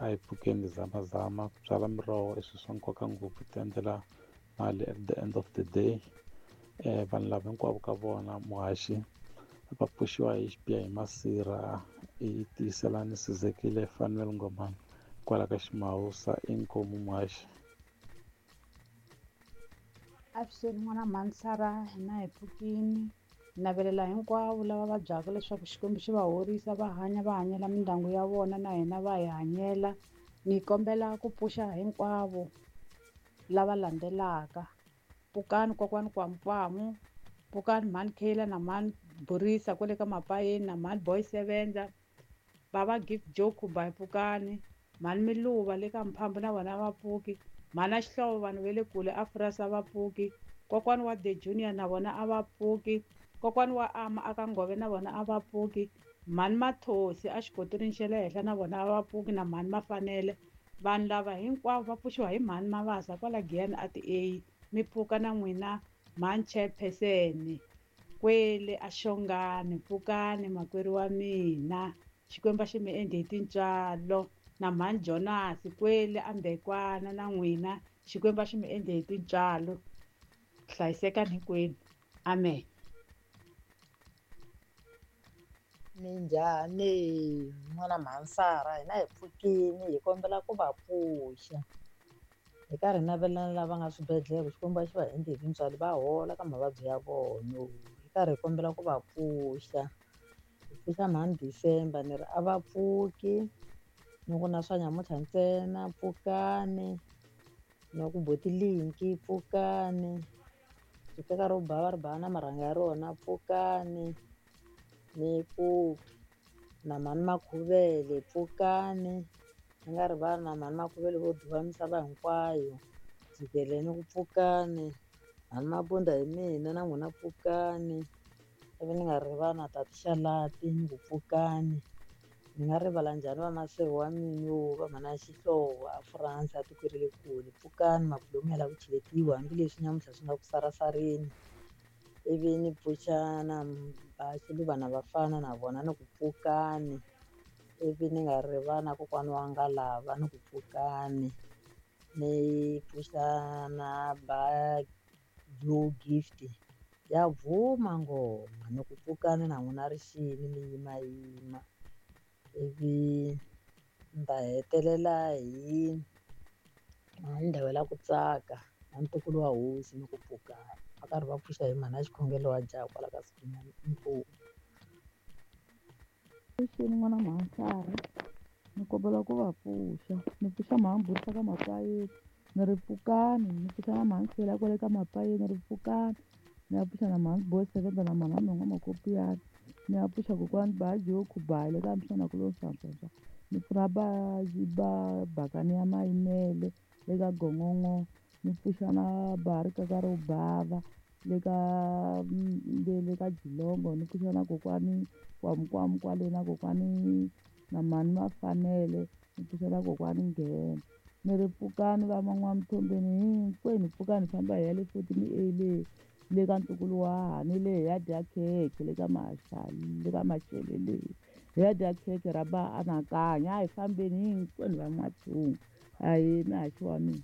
A hi pfukeni hi zamazama ku byala miroho i swilo swa nkoka ngopfu ti endlela mali at the end of the day. Vanhu lava hinkwavo ka vona muhaxi va pfuxiwa hi xibiha hi masirha i tiyiselani Sizekile Fanuel Ngomani kwala ka Ximawusa inkomu muhaxi. Avuxeni n'wana mhani Sara hina hi pfukini hi navelela hinkwavo lava vabyaka leswaku Xikwembu xi va horisa va hanya va hanyela mindyangu ya vona na hina va hi hanyela. Ni kombela ku pfuxa hinkwavo lava landzelaka pfukani kokwani Kwamukwamu pfukani mhani Kayla na mhani Borisa kwale ka Mapayeni na mhani Boy Sevenza bava Gift Joe Khuba hi pfukani mhani Miluva le ka Mphambo na vona va pfuki mhana Xihlovo vanhu va le kule a Furasi a va pfuki kokwani wa The Junior na vona a va pfuki kokwani wa Ama aka Ngove na vona a va pfuki mhani Mathosi a xikoteleni xa le henhla na vona a va pfuki na mhani Mafanele vanhu lava hinkwavo va pfuxiwa hi mhani Mavasa kwala Giyani a ti-A mi pfuka na n'wina mhani chairperson kwele a Xongani pfukani makwerhu wa mina Xikwembu a xi mi endli hi tintswalo na mhani Jonas kwele a Mbekwana na n'wina Xikwembu a xi mi endli hi tintswalo hlayisekani hinkwenu amen. Minjhani n'wana mhani Sara hina hi pfukini hi kombela ku va pfuxa hi karhi hi navelana lava nga swibedhlele Xikwembu a xi va endli hi tintswalo va hola ka mavabyi ya vona hi karhi hi kombela ku va pfuxa hi pfuxa mhani December ni ri a va pfuki ni ku na swa nyamuntlha ntsena pfukani na ku boti linki pfukani riceka ro bava ri bava na marhanga ya rona pfukani ni ku na mhani Makhuvele pfukani ni nga rivali na mhani Makhuvele vo duva misava hinkwayo jikelele ni ku pfukani mhani Mabunda hi mina na n'wina pfukani ivi ni nga rivali na tati Xalati ni ku pfukani ni nga rivala njhani vamaseve wa mina va mhana Xihlovo a France a tikweni ra le kule pfukani mabulomu ya lava ku cheletiwa hambileswi nyamuntlha swi nga ku sarasareni ivi ni pfuxa na Xiluva na vafana na vona ni ku pfukani ivi ni nga rivali na kokwana wa Ngalava ni ku pfukani ni pfuxa na ba Blue Gift ya bvuma ngoma ni ku pfukani na n'wina rixini mi yimayima ivi ni ta hetelela hi ndhawu la ku tsaka na ntukulu wa hosi ni ku pfukani va karhi va pfuxa hi mhana xikhongelo wa jaha kwala ka Sibinyana inkomu. Avuxeni n'wana mhani Sara ni kombela ku va pfuxa ni pfuxa mhani Buti ka Mapayeni ni ri pfukani ni pfuxa na mhani Sela kwale ka Mapayeni ni ri pfukani ni ya pfuxa na mhani Boy Sevenza na mhani Nhonga Makopiyana ni ya pfuxa kokwani Baji yo Khubale ka msana ku lo swanswanswa ni pfuna ba ba bakani ya Mayimele le ka Gongongo ni pfuxa na ba rikaka ro bava le ka le ka Jilongo ni pfuxa na kokwani Kwamukwamu kwale na kokwani na mhani Mafanele ni pfuxa na kokwani Nghena ni ri pfukani va N'wamithombeni hinkwenu pfukani hi famba hi ya le fotini A le le ka ntukulu wa hahani le hi ya dya khekhe le ka le ka Mashele le hi ya dya khekhe ra ba anakanya a hi fambeni hinkwenu va N'wathunga ahee mihaxi wa mina.